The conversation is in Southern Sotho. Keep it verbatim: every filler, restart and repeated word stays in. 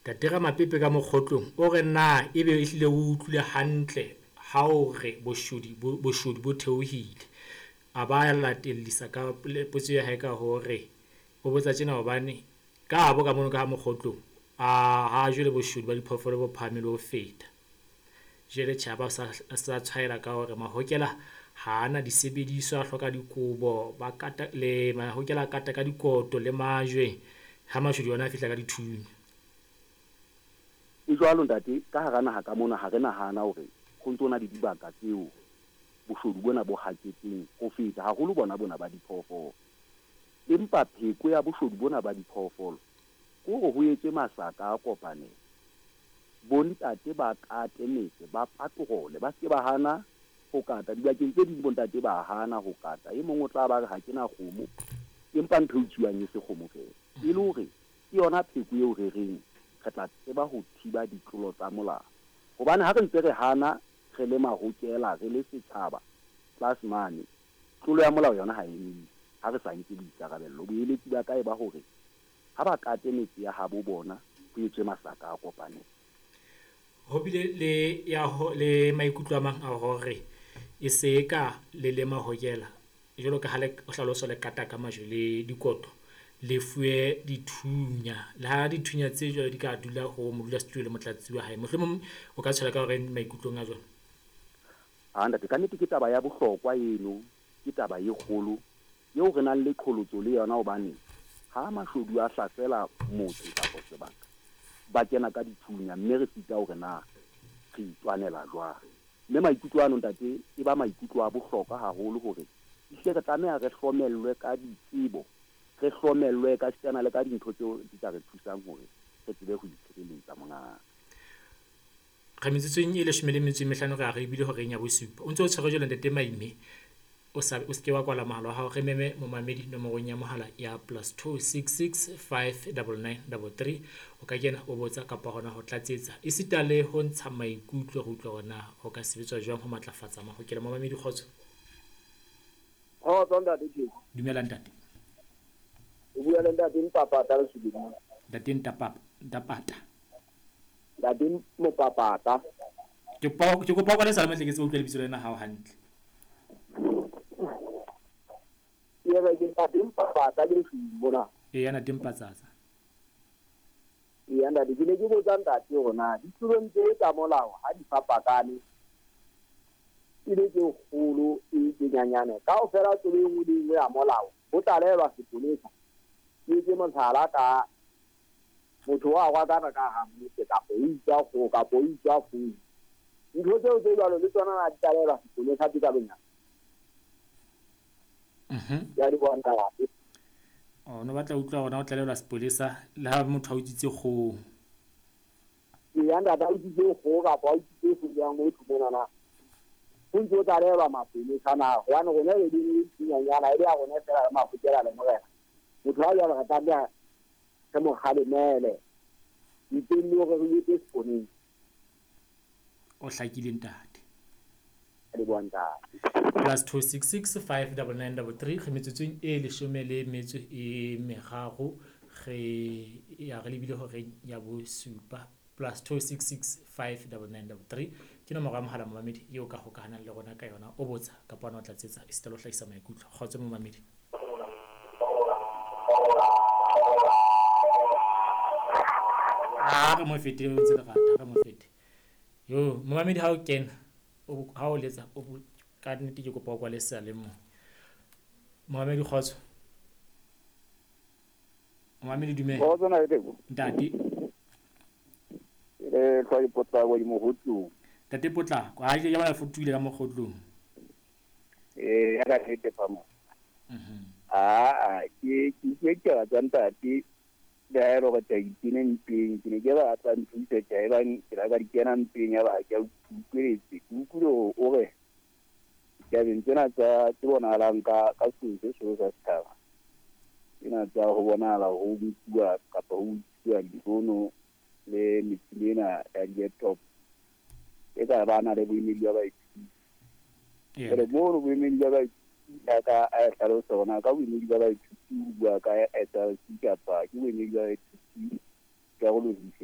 Ntate Ramapepe ka Mokgotlong o re na ebe ehlile o utlwile hantle ha o re boshodu bo boshodu bo theohile. A ba latellisa ka potso ya hae ka hore o botsa tjena hobane ka habo ka mono ka ha Mokgotlong a ha jwale boshodu ba diphoofolo bo phahame le ho feta. Jwale tjhe, a ba sa sa tshwaela ka hore mahokela ha ana disebediswa, a hloka dikobo, ba kata le mahokela a kata ka dikoto le majwe, ha mashodu ona a fihla ka dithunya. E jwalo ntate, ka hara naha ka mona ha re nahana hore ho ntso na le dibaka tseo boshodu bona bo haketseng ho feta haholo bona bona ba diphoofolo. Empa pheko ya boshodu bona ba diphoofolo ke hore ho etswe masaka a kopanelo. Bontate ba kate metse, ba patrole, ba se ba hana ho kata. Dibakeng tse ding bontate ba hana ho kata. E mong o tla ba re ha ke na kgomo, empa ntho e utsuwang e se kgomo feela. E le hore ke yona pheko eo re reng re tla tseba ho thiba ditlolo tsa molao. Hobane ha re ntse re hana re le mahokela, re le setjhaba tlase mane, tlolo ya molao yona ha e emise ha re sa nke boikarabello. Boeletsi ba ka e ba hore ha ba kate metse ya habo bona, ho etswe masaka a kopanelo. Ho bile le ya ho le maikutlo a mang a hore e se ka le le mahokela jwalo ka ha le hlaloso le kata ka majwe le dikoto, le fuwe dithunya le ha dithunya tse jwalo di ka dula ho modulasetulo le motlatsi wa hae. Mohlomong o ka tshwela ka hore maikutlong a jwalo. Ah ntate, ka nnete ke taba ya bohlokwa eno, ke taba e kgolo eo re nang le qholotso le yona hobane ha mashodu a hlasela motse kapa sebaka, ba kena ka dithunya mme re sita hore na re itwanela jwang. Mme maikutlo ano ntate e ba maikutlo a bohlokwa haholo hore ehlile re tlameha re hlomellwe ka ditsebo, re hlomellwe ka sitana le ka dintho tseo di ka re thusang hore re tsebe ho itshireletsa mongaka. Re metsotsong e leshome le metso e mehlano re a re ebile horeng ya bosupa. O ntse o tshwere jwalo ntate Maime, o sa o seke wa kwala mohala wa hao, re meme momamedi nomorong ya mohala ya plus two six six five double nine double three. O ka kena o botsa kapa hona ho tlatsetsa esita le ho ntsha maikutlo, re utlwa hore na ho ka sebetswa jwang ho matlafatsa mahokela. Momamedi, kgotso. Kgotso ntate Theko. Dumela ntate. O bua le ntate Mpapata Lesubing. Ntate Ntapapa, Ntapata. Ntate Mopapata. Ke kopa ke kopa o kwale sala ke tsebe utlwa lebitso lena hao hantle. Ke re ke ntate Mpapata Lesubing mona. Eya ntate Mpatsatsa. Eya ntate, ke ne ke botsa ntate hore na ditlolong tse tsa molao ha di fapakane e le tse kgolo e tse nyenyane, kaofela tlolo e nngwe le e nngwe ya molao ho tlalehwa sepolesa. Ke etse mohlala ka motho wa rwakana ka hara motse kapa o utswa kgoho kapa o utswa founu. Ntho tseo tse jwalo le tsona na di tlalehwa sepolesa tse ka bonyane? Mhm. Ya di bona ntate. Oh, no batla utlwa hore na o tlalehwa sepolesa le ha motho a utswitse kgoho. Eya ntate, a utswitse kgoho kapa a utswitse founu ya motho monana. Ho ntso o tlalehwa mapolesa na? Hobane rona re le dinyenyana e le ya rona feela re mahokela le morena. Motho ha jwalo re tlameha re mo kgalemele ntle le hore re etse seponeng. O hlakile ntate. Le bona ntate. Plus two six six five double nine double three. Re metsotsong e leshome le metso e meraro re ya re lebile horeng ya bosupa. Plus two six six five double nine double three ke nomoro ya mohala momamedi eo ka hokahanang le rona ka yona. O botsa kapa ona o tlatsetsa esita le ho hlahisa maikutlo. Kgotso momamedi. Ah, re mo fete, o ntse lerata, re mo fete. Yo, momamedi ha o kena, o ha o letsa, o ka nnete ke kopa o kwale seyalemoya. Momamedi, kgotso. Momamedi, dumela. Kgotso na Theko. Ntate. Eh, tlhwa Potlako di Mokgotlong. Ntate Potlako, ha ke bona fotuile ka Mokgotlong. Eh, ya ka nnete fa mo. Mhm. Ah, ke ke ke ke tsa ntate. Le ha e le hore ke a ipina mpeng, ke ne ke batla nthusa tjhe, ebang ke la ka di kena mpeng ya ba ke a utlweletse. Ke utlwile hore o re ditabeng tsena tsa tse bonahalang ka ka sehloho se seholo sa setjhaba, tsena tsa ho bonahala ho nkuwa kapa ho utsuwa difono le metjhini ena ya di-laptop, e ka ba na le boemedi ba baithuti. Jwale mono boemedi ba baithuti ka a hlalosa hore na ka boemedi ba baithuti o bua ka S R C kapa ke boemedi ba baithuti karolo dife.